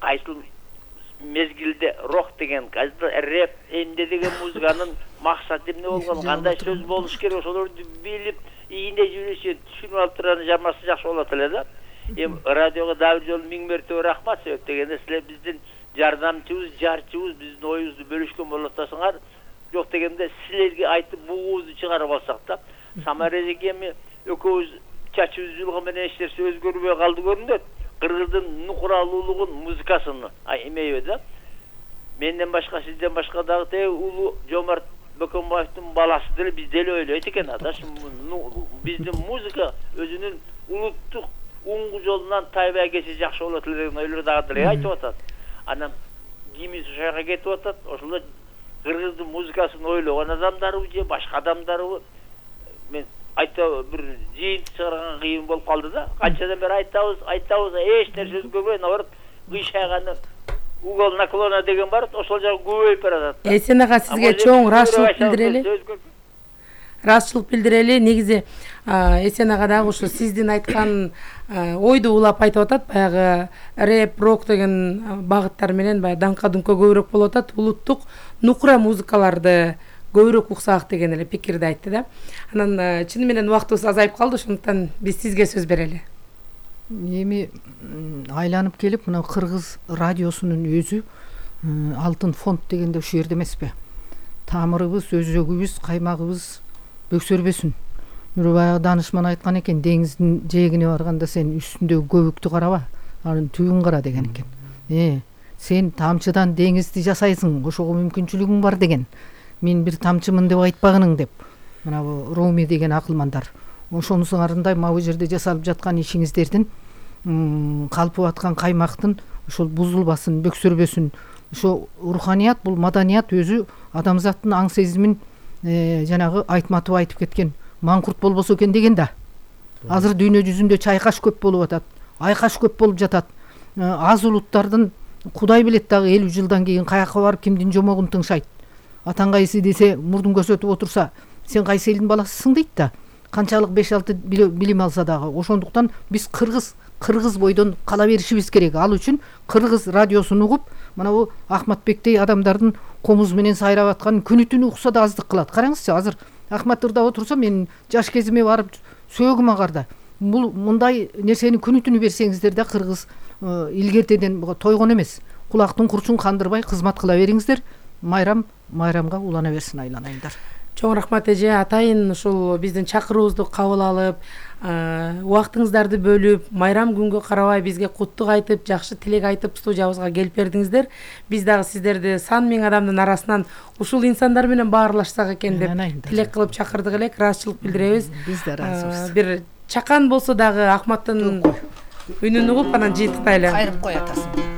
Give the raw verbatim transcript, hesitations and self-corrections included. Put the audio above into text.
кайсыл мезгилде рок деген, кайсыл рэп, эмне деген музыканын максаты эмне болгон, кандай сөз болуш керек, ошолорду билип, ийине жүрүшү, түшүнүп алып турган жамасы жакшы болот эле да. Эми радиого дагы бир жолу миң мертебе рахмат, себеп дегенде силер биздин жардамчыбыз, жарчыбыз, биздин оюбузду бөлүшкөн болуп атасыңар. Жок дегенде силерге айтып бугубузду чыгарып алсак да, Самара эжеке эми экөөбүз чачыбыз жулган менен эч нерсе өзгөрбөй калды көрүнөт. Кыргыздын нукуралуулугун, музыкасын эмейби да. Менден башка, сизден башка дагы те улуу Жомарт Бөкөнбаевдин баласы деле биз деле ойлойт экен ада. Биздин музыка өзүнүн улуттук уңгу жолунан тайбай кетсе жакшы болот эле деген ойлор дагы деле айтып атат. Анан кимис ошого кетип атат, ошол кыргыздын музыкасын ойлогон адамдарбы же башка адамдарбы? Мен айта бир жыйынтык чыгарган кыйын болуп калды да. Канчадан бери айтабыз, айтабыз, эч нерсе өзгөрбөй, наоборот, кыйшайганы угол наклона деген бар, ошол жагы көбөйүп баратат. Эсен ага сизге чоң ыраазычылык билдирели. Ыраазычылык билдирели. Негизи Эсен ага дагы ушу сиздин айткан ойду улап айтып атат. Баягы рэп, рок деген багыттар менен баягы даңка-дүңкө көбүрөөк болуп атат. Улуттук нукура музыкаларды көбүрөөк уксак деген эле пикирди айтты да. Анан чыны менен убактыбыз азайып калды, ошондуктан биз сизге сөз берели. Эми айланып келип мына кыргыз радиосунун өзү алтын фонд дегенде ушул жерде эмеспи? Тамырыбыз, өзөгүбүз, каймагыбыз бөксөрбөсүн. Баягы данышман айткан экен, деңиздин жээгине барганда сен үстүндөгү көбүктү караба, анын түбүн кара деген экен. Э, сен тамчыдан деңизди жасайсың, ошого мүмкүнчүлүгүң бар деген. Мен бир тамчымын деп айтпагының деп. Мына бу Руми деген акылмандар. Ошонусуңарындай мына бу жерде жасалып жаткан ишиңиздердин калпып аткан каймактын ошол бузулбасын, бөксөрбөсүн. Ошо руханият, бул маданият өзү адамзаттын аң сезимин жанагы айтматып айтып кеткен маңкурт болбосо экен деген да. Азыр дүйнө жүзүндө чайкаш көп болуп атат, айкаш көп болуп жатат. Аз улуттардын Кудай билет дагы элүү жылдан кийин каяка барып кимдин жомогун тыңшайт. Атаң кайсы десе, мурдун көрсөтүп отурса, сен кайсы элдин баласысың дейт да. Канчалык беш алты билим алса дагы. Ошондуктан биз кыргыз кыргыз бойдон кала беришибиз керек. Ал үчүн кыргыз радиосун угуп, мына бу Ахматбектей адамдардын комуз менен сайрап аткан күнү түнү укса да аздык кылат. Караңызчы, азыр Ахмат ырдап отурса, мен жаш кезиме барып сөөгүм агарда. Бул мындай нерсени күнү түнү берсеңиздер да кыргыз илгертеден тойгон эмес. Кулактын курчун кандырбай кызмат кыла бериңиздер. Майрам майрамга улана берсин, айланайындар. Чоң рахмат эже, атайын ушул биздин чакыруубузду кабыл алып, убактыңыздарды бөлүп, майрам күнгө карабай бизге куттук айтып, жакшы тилек айтып студиябызга келип бердиңиздер. Биз дагы сиздерди сан миң адамдын арасынан ушул инсандар менен баарлашсак экен деп тилек кылып чакырдык элек, ыраазычылык билдиребиз. Биз да ыраазыбыз. Бир чакан болсо дагы Ахматтын үнүн угуп анан жыйынтыктайлы. Кайрып кой атасын.